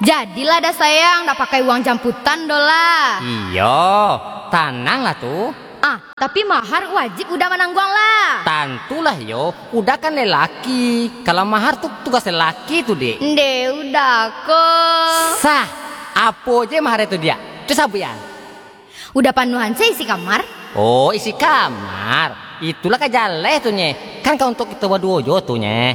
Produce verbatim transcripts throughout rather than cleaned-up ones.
Jadilah dah sayang, dak pakai uang jamputan doh lah. Iyo, tananglah tu. Ah, tapi mahar wajib Uda manangguang lah. Tantulah yo, Uda kan lelaki. Kalau mahar tu tugas lelaki tu, Dek. Ndeh, Uda ko. Sah, apo je mahar tu, Diak? Tu sabuik an. Uda panuahan se isi kamar. Oh, isi kamar. Itulah ka jaleh tu, Nye. Kan ka untuak kito baduo jo tu, Nye.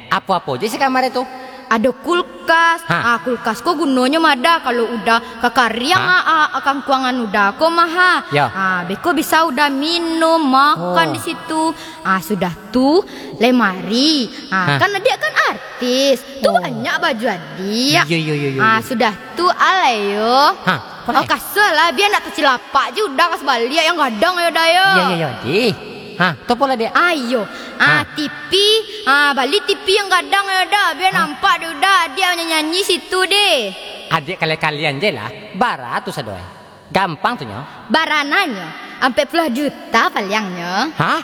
Apo-apo je isi kamar tu? Ado kulkas. Ha. Ah, kulkas ko gunonyo mah Uda kalau Uda kakariang, ha? Ah, ah, kangkuangan Uda ko mah, ha. Ya. Ah, beko bisa Uda minum, makan, oh, di situ. Ah, sudah tu, lemari. Ah, ha, kan adiak kan artis. Tu, oh, banyak baju adiak. Iyo, iyo, iyo, iyo, ah, iyo. Sudah tu, alai yo. Ha, apo lai? Oh, kasua lah, bia ndak tacilapak je Uda ka sabaliak yang gadang yo, Da, yo. Iyo, iyo, iyo, Dek. Ha, tu apo lai, Diak? Ayo. Ah, ha. T V. Ah, bali T V yang gadang yo, Da. Bia, ha, nampak dek Uda, adiak nyanyi-nyanyi situ deh. Adiak kali-kalian je lah. Bara tu sado ai. Gampang tu nyo. Bara nyo? Ampek puluah juta paliangnyo. Hah?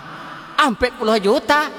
Ampek puluah juta?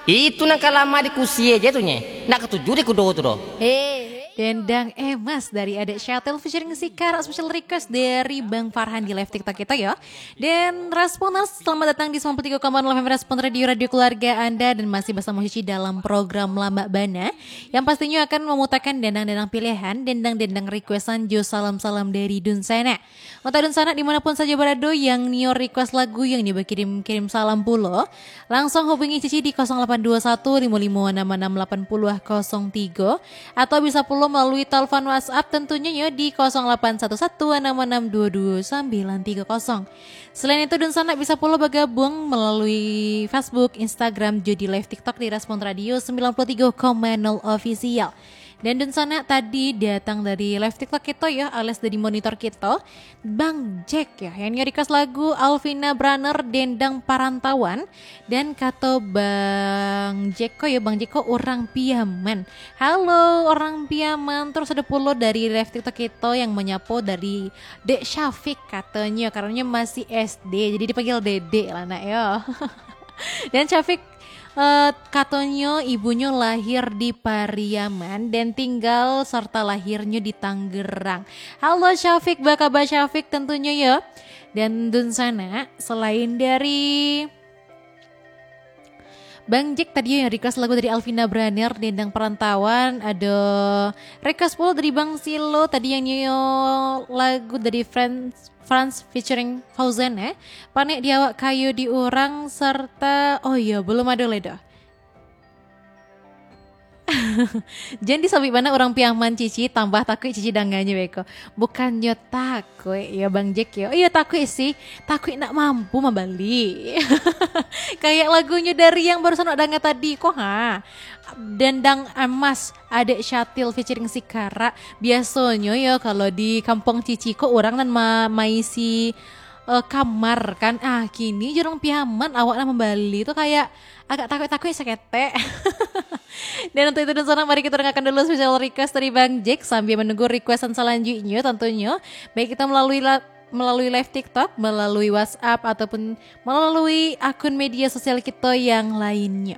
Itu nan ka lama di kusie je tu, Nye. Ndak katuju di kudo tu doh. Hei. Dendang Emas dari Adek Syatil featuring Sikara, special request dari Bang Farhan di live TikTok kita yo. Dan Responers, selamat datang di sembilan puluh tiga koma nol F M Respon Radio, radio keluarga Anda, dan masih bersama Cici dalam program Lambak Bana yang pastinya akan memutarkan dendang-dendang pilihan, dendang-dendang requestan jo salam-salam dari dunsanak. Untuak dunsanak di mana pun sajo barado yang nio request lagu, yang nio bakirim-kirim salam pulo, langsung hubungi Cici di kosong lapan dua satu limo limo anam anam lapan puluah kosong tigo, atau bisa pulo malalui telepon WhatsApp tentunyo yo di kosong lapan satu satu anam anam dua dua sambilan tiga kosong. Selain itu, dunsanak bisa pulo bagabung malalui Facebook, Instagram, jo di live TikTok di Respon Radio sembilan puluh tiga koma nol Official. Dan dunsanak tadi datang dari live TikTok kito yo, alias dari monitor kito, Bang Jack yo, yang nio request lagu Alvina Braner, Dendang Parantauan, dan kato Bang Jack ko yo, Bang Jack ko urang Piaman. Halo, urang Piaman. Terus ado pulo dari live TikTok kito yang manyapo dari Dek Syafiq katonyo, karano masih S D, jadi dipanggil Dedek lah nak yo. Dan Syafiq, eh, katonyo ibunyo lahir di Pariaman dan tinggal serta lahirnyo di Tangerang. Halo Syafiq, apa kabar Syafiq tentunyo yo? Dan dunsanak, selain dari Bang Jack tadi yang request lagu dari Alvina Braner, Dendang Perantauan, ado request pulo dari Bang Silo tadi yang nio lagu dari Friends Frans featuring Fauzan, eh. Panek di awak kayo di urang, serta, oh iyo, belum ado lai doh. Jan disabuik bana urang Piaman, Cici, tambah takuik Cici danganyo beko. Bukannyo takuik, yo, Bang Jack, yo. Iyo, takuik sih. Takuik ndak mampu mambali. Kayak lagunyo dari yang barusan awak danga tadi, ko, ha. Dendang Emas, Adek Syatil featuring Sikara. Biasonyo yo, kalau di kampuang Cici ko urang nan ma-, maisi, eh, kamar kan. Ah, kini jo urang Piaman awak nan mambali tu kayak agak takuik-takuik saketek. Dan untuk itu dunsanak, mari kita dengarkan dulu special request dari Bang Jack sambil menunggu requestan selanjutnya tentunya. Baik kita melalui la-, melalui live TikTok, melalui WhatsApp, ataupun melalui akun media sosial kita yang lainnya.